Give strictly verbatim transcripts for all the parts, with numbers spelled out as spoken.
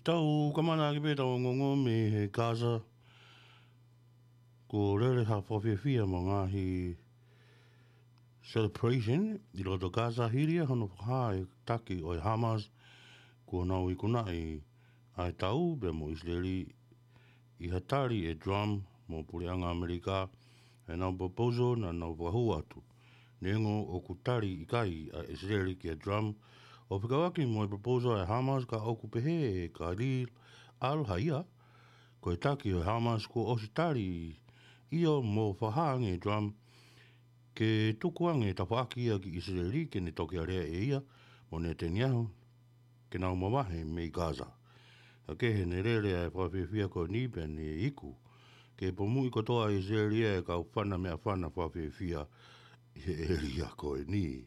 Tau kamata ʻaki pē ʻetau ongoongo mei he Gaza. Kuo lele ha fakafiefia mo e ngaahi celebration ʻi loto Gaza hili ia hono fakahā ʻe he taki ʻo e Hamas kuo nau ikunaʻi ʻa e tau pea mo ʻIsileli ʻi ha tali ʻe Trump mo e Puleʻanga ʻAmelika ʻenau proposal naʻa nau fakahū atu. Neongo ʻoku tali ʻikai ʻa ʻIsileli kia Trump ʻo fekauʻaki mo e proposal ʻa e Hamas, ka ʻoku pehē ʻe Khalil al-Hayya, ko e taki ʻo e Hamas, kuo ʻosi tali ʻio mo fakahā ange ʻe Trump ke tuku ange tafaʻaki ia ki ʻIsileli ke ne toki alea ʻe ia mo Netanyahu ke nau mavahe mei Gaza. Ka kehe, ne lele ʻa e fakafiefia ko eni pea ne iku ke pomuʻi kotoa ʻa ʻIsileli ʻe he kau fana meʻafana fakafiefia ʻi he ʻēlia ko eni.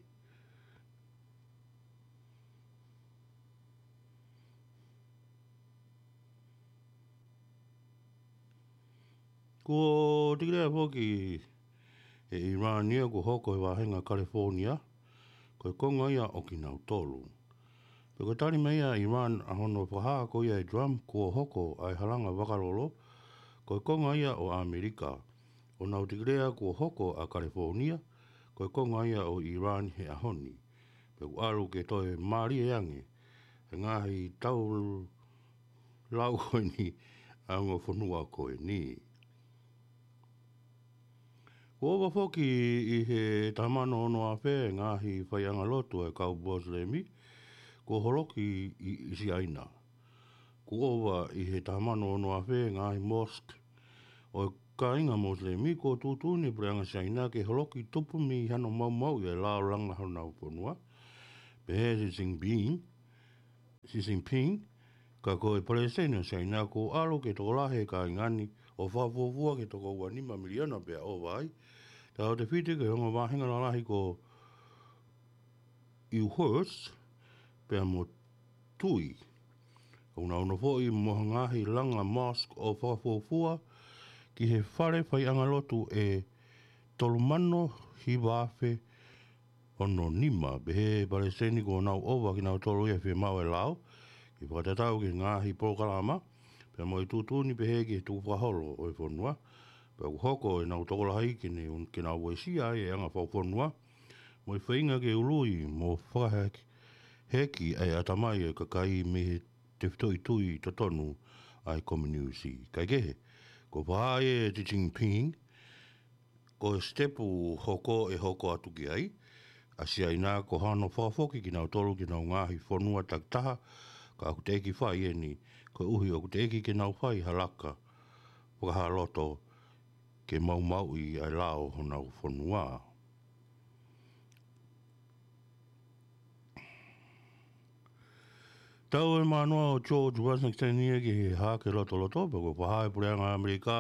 Kuo tikilea foki ʻe ʻIrani ia kuo hoko ʻi he vāhenga California ko e konga ia ʻo kinautolu. Pea ko e tali mai ʻa ʻIrani ʻa hono fakahā ko ia ʻe Trump kuo hoko ʻa e halanga vakalolo ko e konga ia ʻo ʻAmelika, ʻo nau tikilea kuo hoko ʻa California ko e konga ia ʻo ʻIrani he ʻaho ni. Pea ʻoku ʻalu ke toe mālie ange ʻa e ngaahi tau lau ko eni ʻa e ongo fonua ko eni. Kuo ʻova foki ʻi he taha mano ono afe e ngaahi faiʻanga lotu ʻa e kau Mosilemi kuo holoki ʻi, ʻi Siaina. Kuo ʻova ʻi he taha mano ono afe e ngaahi mosque ʻo e kāinga Mosilemi kuo tuʻutuʻuni ʻe he Puleʻanga Siaina ke holoki tupu mei hano maumauʻi ʻa e lao langa honau fonua. Pehē ʻe Xi Jinping, Xi Jinping, ka ko e Palesiteni ʻo Siaina kuo ʻalu ke tokolahi e kāinga ni ʻo fakafuofua ki he toko ua nima miliona pea ʻova ai. Tautefito ki he ongo vāhenga lalahi ko Uyghurs pea mo Tui. ʻOku nau nofoʻi mo ha ngaahi langa mosque ʻo fakafuofua ki he fale faiʻanga lotu ʻe tolu mano hiva afe ono nima. Pehē ʻe he Palesiteni kuo nau ʻova kinautolu ia he fiemaʻu ʻa e lao ke fakatatau ki he ngaahi polokalama pea mo e tuʻutuʻuni pehē ki he tukufakaholo ʻo e fonua. Pea ʻoku hoko ʻenau tokolahi ke ne, ke nau uesia ai e anga fakafonua mo e feinga ke ului mo fakaheki, heki ʻa e ʻatamai ʻo e kakai mei he tefitoʻi tui totonu ʻa e kominiusi. Kae kehe, kuo fakahā ʻe Xi Jinping ko e sitepu hoko ʻe hoko atu ki ai ʻa Siaina ko hano fakafoki kinautolu ki honau ngaahi fonua takitaha, ka ʻoku teʻeki fai eni koeʻuhi ʻoku teʻeki ke nau fai ha laka fakahā loto ke maumauʻi ʻa e lao honau fonua. Tau e mānoa ʻo George Washington ia ki he hake lotoloto, pea kuo fakahā ʻe he Puleʻanga ʻAmelika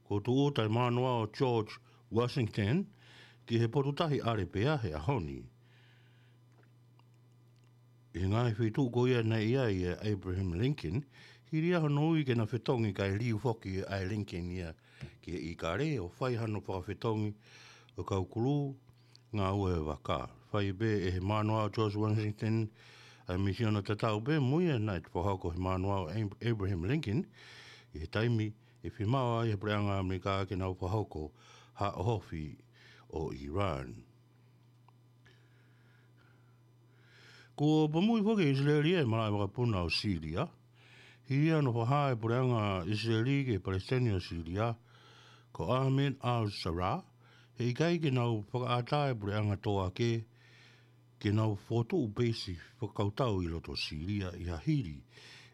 kuo tūʻuta e mānoa ʻo George Washington ki he potu tahi ʻAlepea he ʻaho ni. ʻI he ngaahi feituʻu ko ia naʻe ʻi ai ʻa Abraham Lincoln, hili ia hono ui ke na fetongi, kae liliu foki ʻa Lincoln ia ki he ʻīkale ʻo fai hano fakafetongi ʻo e kau kulū ngāue vaka. Fai pē ʻe he mānoa ʻo George Washington ʻa e misiona tatau pē mo ia naʻe fakahoko ʻe he mānoa ʻo Ab-, Abraham Lincoln ʻi he taimi ʻe fiemaʻu ai ʻe he Puleʻanga ʻAmelika ke nau fakahoko ha ʻohofi ʻo ʻIrani. Kuo pomuʻi foki ʻe ʻIsileli e malaʻe vakapuna ʻo Sīlia, hili ia hono fakahā ʻe he Puleʻanga ʻIsileli ki he Palesiteni ʻo Sīlia ko Ahmed al-Sharaa, he ʻikai ke nau fakaʻatā e puleʻanga tō ake ke nau fokotuʻu peisi fakakautau ʻi loto Sīlia ʻi ha hili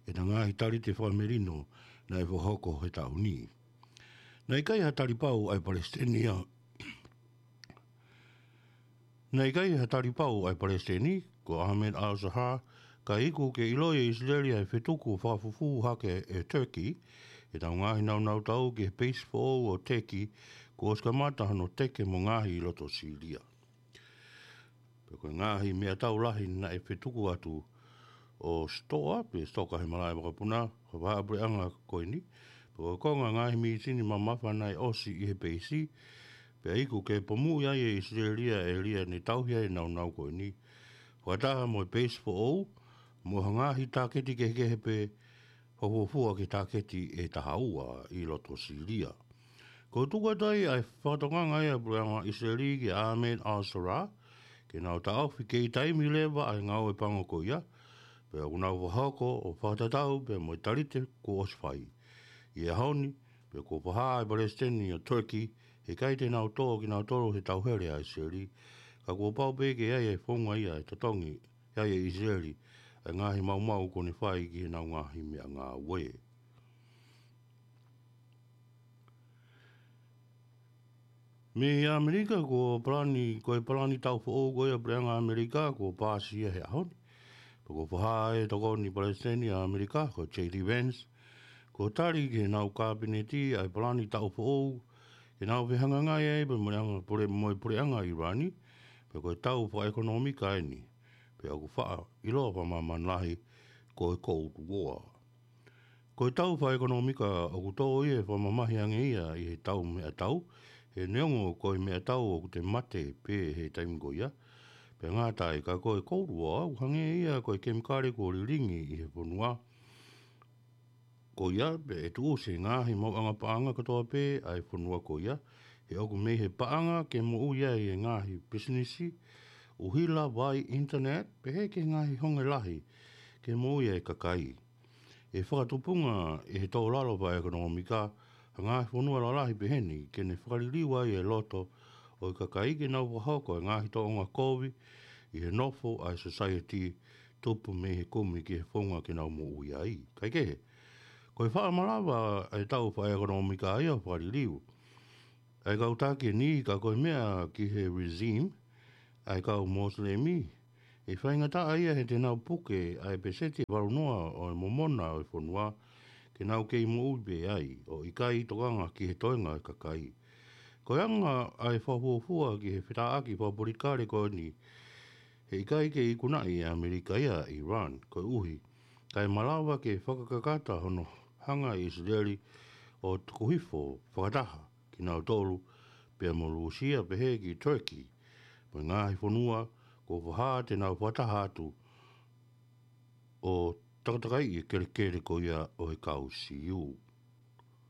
ʻena ngaahi talite fakamelino naʻe fakahoko he taʻu ni. Naʻe ʻikai ha talipau ʻa e Palesiteni ia Naʻe ʻikai ha talipau ʻa e Palesiteni ko Ahmed al-Sharaa, kae iku ke ʻiloʻi ʻe ʻIsileli ʻa e fetuku fakafufū hake ʻe Turkey ʻenau ngaahi nāunautau ki he peisi foʻou ʻo Turkey kuo ʻosi kamata hono teke mo ngaohi ʻi loto Sīlia. Pea ko e ngaahi meʻatau lahi naʻe fetuku atu ʻo sitoa pe sitoka he malaʻe vakapuna, ko e vahaʻa puleʻanga ko eni. Pea ko e konga ngaahi mīsini mamafa naʻe ʻosi ʻi he peisi, pea iku ke pomuʻi ai ʻe ʻIsileli ʻa e ʻēlia ne tauhi ai e nāunau ko eni, fakataha mo e peisi foʻou, mo ha ngaahi tāketi kehekehe pē fakafuofua ki he tāketi ʻe taha ua ʻi loto Sīlia. Ko e tuku atu ai ʻa e fakatokanga ia ʻa e puleʻanga ʻIsileli kia Ahmed al-Sharaa, ke nau taʻofi kei taimi leva ʻa e ngāue pango ko ia, pea ʻoku nau fakahoko ʻo fakatatau pea mo e talite kuo ʻosi fai. ʻI he ʻaho ni, pea kuo fakahā ʻe he palesiteni ʻo Turkey, he ʻikai te nau tō kinautolu he tauhele ʻa ʻIsileli, ka kuo pau pē ke ʻi ai e founga ia ʻe totongi ai ʻe ʻIsileli ʻa e ngaahi maumau kuo ne fai ki heʻenau ngaahi meʻangāue. Mei ʻAmelika, ko e palani, ko e palani taʻu foʻou ko ia ʻa e puleʻanga ʻAmelika, kuo paasi ia he ʻaho ni. Pea kuo fakahā ʻe he tokoni palesiteni ʻa ʻAmelika, ko JD Vance, kuo tali ki heʻenau kapineti ʻa e palani taʻu foʻou, ke nau fehangahangai ai pea mo e anga pule-, mo e puleʻanga ʻIrani, pea ko e tau fakaʻekonōmika eni, pea ʻoku faʻa ʻiloa fakamāmani lahi ko e Cold War. Ko e tau fakaʻekonōmika ʻoku tō ia ʻo fakamamahi ange ia ʻi he tau meʻatau, he neongo ko e meʻatau ʻoku te mate pē he taimi ko ia, pea ngata ai, ka ko e Cold War ʻoku hangē ia ko e kemikale kuo lilingi ʻi he fonua ko ia, pea ʻe tuʻusi e ngaahi maʻuʻanga paʻanga kotoa pē ʻa e fonua ko ia, he ʻoku mei he paʻanga ke moʻui ai e ngaahi pisinisi, ʻuhila, vai, internet, pehē ki he ngaahi honge lahi ke moʻui ai e kakai. ʻE fakatupunga ʻe he tō lalo fakaʻekonōmika ʻa e ngaahi fonua lalahi pehē ni ke ne fakaliliu ai e loto ʻo e kakai ke nau fakahoko e ngaahi tōʻonga kovi ʻi he nofo ʻa e society, tupu mei he kumi ki he founga ke nau moʻui ai. Kaekehe, ko e faʻa malava ʻa e tau fakaʻekonōmika ia ʻo fakaliliu ʻa e kau taki ʻe niʻihi, ka ko e meʻa ki he regime ʻa e kau Mosilemi, ʻe faingataʻa ia he te nau puke ʻa e peseti ʻe valu noa ʻo e momona ʻo e fonua, ke nau kei moʻui pē ai, ʻo ʻikai tokanga ki he toenga ʻo e kakai. Ko e anga ʻa e fakafuofua ki he fetāʻaki fakapolitikale ko eni, he ʻikai ke ikunaʻi ʻe ʻAmelika ia ʻa ʻIrani, koeʻuhi kae malava ke fakakakata hono hanga ʻe ʻIsileli ʻo tuku hifo fakataha kinautolu pea mo Lūsia, pehē ki Turkey, mo e ngaahi fonua kuo fakahā te nau fakataha atu ʻo takatakaiʻi e kelekele ko ia ʻo e kau Siu.